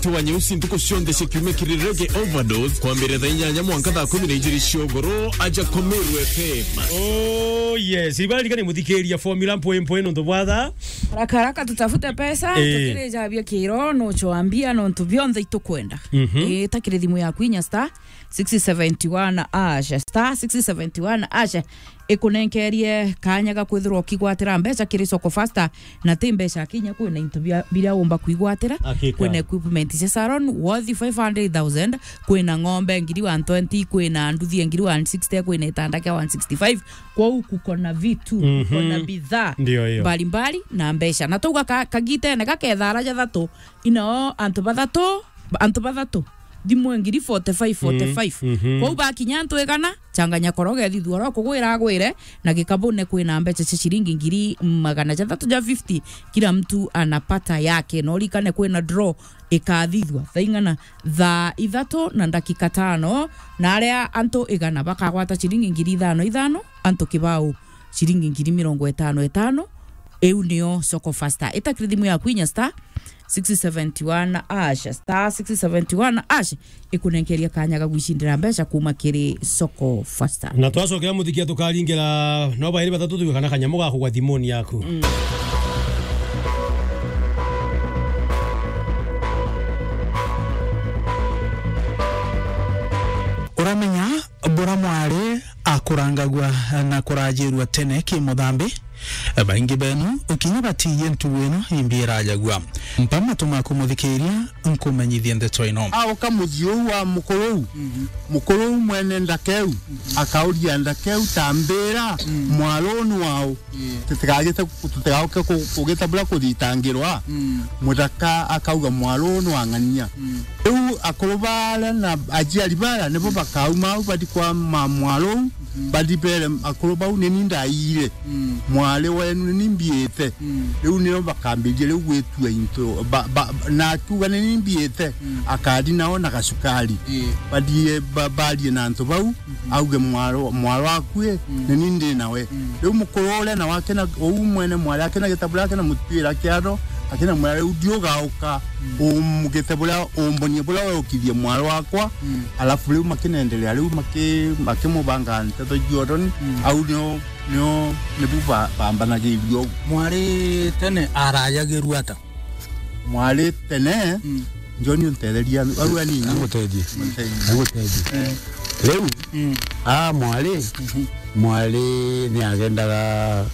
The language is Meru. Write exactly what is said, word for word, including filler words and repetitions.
Tiwa nyeusi ntuku cionthe cia kiumia kiri Reggae Overdose, kwambiriria thaa inyanya mwanka thaa kumi na ijiri cia ugoro, aja kwa Meru F M. Oh, yes. Ibaririkane muthikiria formula mpwe mpwe nontu bwa thaa. Haraka haraka tutafute pesa, eh, tukirejabia kiro, no choambia nontu bionthe itukwenda. Mhm. Eh, takiri thimu yaku inya star six seventy one hash, star six seventy one hash, ikunenkerie kanya ga kwithirwa ukigwatira mbeca kiri Soko Faster, na ti mbeca kinya, kwina into bia, biria umba kwigwatira, hakika, kwina equipment cia salon worth five hundred thousand, kwina ng'ombe ngiri one twenty, kwina nduthi ya ngiri one sixty, kwina itanda kia one sixty-five. Kwou kuko na vitu, kuko na, mhm, bidhaa, ndio hiyo, mbalimbali na mbeca. Na twauga ka-, kagitene gakethara jathatu, inao antu bathatu, antu bathatu, thimu ngiri forty-five, forty-five. Mhm. Kwou bakinya antu igana, changanya koroge thithua oro kugwira agwire, na gikabune kwina mbeca cia ciringi ngiri magana jathatu ja fifty, kila mtu anapata yake. Na urikane kwina draw ikathithua thaa ing'ana, thaa ithatu na ndakika tano, na aria antu igana bakagwata ciringi ngiri ithano ithano, antu kibao ciringi ngiri mirongo itano itano. Iu nio Soko Faster. Ita kiri thimu yaku inya star six seventy one hash, star six seventy one hash, ikunenkeria kanya ga gwicindira mbeca kuma kiri Soko Faster. Na twacokera muthikia tukaringira no bairi bathatu tuwe kana kanyamu ga kugwa thimuni yaku. Mm. Uramenya bura mwari akurangagua na kurajirua tene ki muthambi? Baingi benu ukinya batiye ntugu ino imbi irajagua. Mpa matu maku muthikiria, nkumenyithie ndeto ino. Auka muthii uu wa mukuru uu, mhm, mukuru uu mwene ndaka iu, mhm, akauria ndaka iu, "Tambira, mm, mwaro uu ni wau? Ii. Tutigagite, tutigauke ku-, kugita buria kuthitangirwa." Mm. Muthaka akauga, "Mwaro uu ni wa ng'ania." Mm. Riu akuru baria na aciari baria nibo bakauma au bathi kwa ma-, mwaro uu, mm, bathi bere akuru bau, "Ni ni ndaiyire." Mm. Mwari wenu ni ni mbiite. Mm. Riu nio bakambiririe riu gwitua into, ba, ba, na akiuga ni ni mbiite, mm, akathi nao na gacukari. Ii. Bathie ba, barie na antu bau, mhm, auge, "Mwaro, mwaro akui, mm, ni ni ndi nawe." Mm. Riu mukuru uria nawe akina, uu mwene mwari akina gitabu riake na mutwira kiatho, akina mwira, "Riu ndi ugauka, mm, umugite buria, umbonie buria weukithie mwaro wakwa." Mm. Alafu riu makinendelea, riu maki-, makimubanga nteto ciotoni, mm, au nio nio, nibu ba-, bambanagiria ugu. Mwari tene arajagirua ata? Mwari tene, mm, John, untetheria, au anini. Agutethie. Untetherie. Agutethie. Eh. Riu, mm, a mwari, mhm, mwari ni agendaga